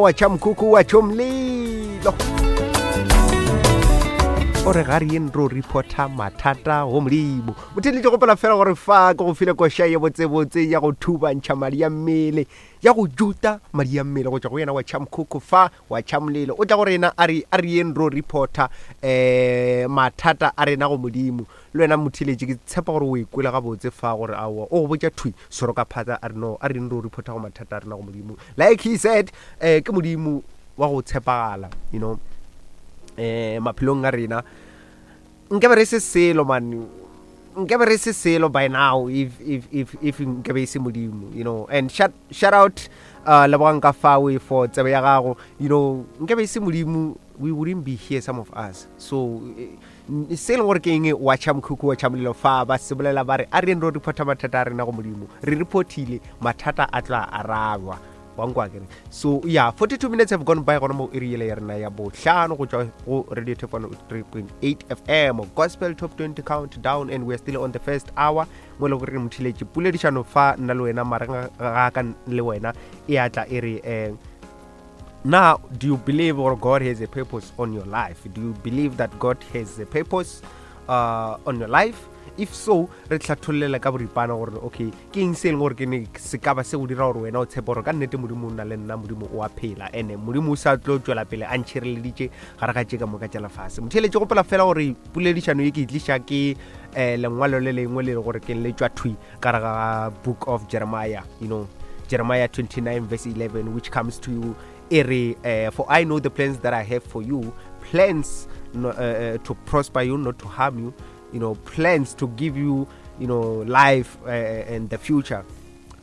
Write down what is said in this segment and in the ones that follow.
Wa tšha mkhukhu wa tšho mlilo. O re ga re yeng ro reporta mathata go Modimo. Motheeletši gopola fela gore fa ke go file koša ye botsebotse ya go thubantšha madi a mmele, ya go juta madi a mmele go tšwa go yena wa tšha mkhukhu fa wa tšha molelo. O tla go rena a re a re yeng ro reporta eh mathata a rena go Modimo. Le wena motheeletši ke tshepa gore o e kwele gabotse fa gore aowa o go botša thwi soro ka phatsa a re no a re re reporta go mathata a rena go Modimo. Like he said eh ke Modimo wa go tshepagala you know eh maphelong a rena nkabe re se selo man nkabe re se selo by now if if if if nkabe e se Modimo you know and shout shout out uh lebogang ka fawe for tsebe ya gago you know nkabe e se Modimo we wouldn't be here some of us so eh, Se e leng gore ke eng, wa tšha mokhukhu wa tšha molelo fa ba se bolela ba re a re ro reporta mathata a rena go Modimo. Re reportile, mathata a tla arabjwa. Wa nkwa kere. So yeah, 42 minutes have gone by gona mo iri yela ya rena ya bohlano go tšwa go Radio Top 103.8 FM Gospel Top 20 Countdown and we are still on the first hour mo e le gore re mothiletše poledišano fa nna le wena mareng ga ka le wena e atla e re eh Now, do you believe or God has a purpose on your life? Do you believe that God has a purpose uh, on your life? If so, re hlathollela ka boripana gore okay ke eng se e leng gore ke ne se ka ba se go dira gore wena o tshepe gore ka nnete modimo o na le nna modimo o a phela ene modimo o sa tlo tšwela pele a ntšhireleditše gare ga tše ka moka tša lefase motheeletše gopola fela gore poledišano ye ke e tliša ke um lengwalo le lengwe le le gore ke le tšwa thwi ka re ga book of Jeremiah, you know, Jeremiah 29 verse 11, which comes to you, ere, uh, for I know the plans that I have for you, plans no, uh, to prosper you, not to harm you, you know, plans to give you, you know, life uh, and the future,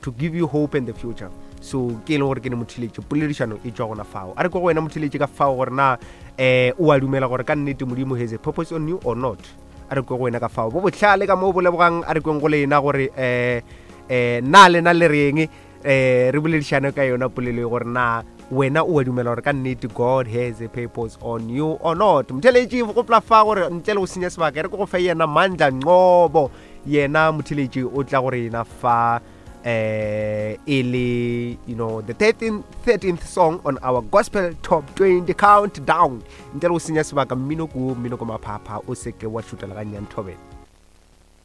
to give you hope in the future. So ke e leng gore ke ne mothiletše poledišano e tšwa gona fao a re ko go wena mothiletše ka fao gore na um o a dumela gore ka nnete modimo has a purpose on you or not A re kwe go wena ka fao. Bo bohlale ka mo bo lebogang a re kweng go lena gore um um na lena le reng um re boledišane ka yona polelo e gore na wena o a dumela gore ka nnete God has a purpose on you or not. Motheletši gopola fa gore ntle le go senya sebaka re ke go fe yena Mandla Nqobo yena motheletši o tla go rena fa eh e le you know the 13th, 13th song on our gospel top 20 countdown ntle le go senya sebaka mmino ko mmino ko maphapha o seke wa šutela ga nnyane thobela.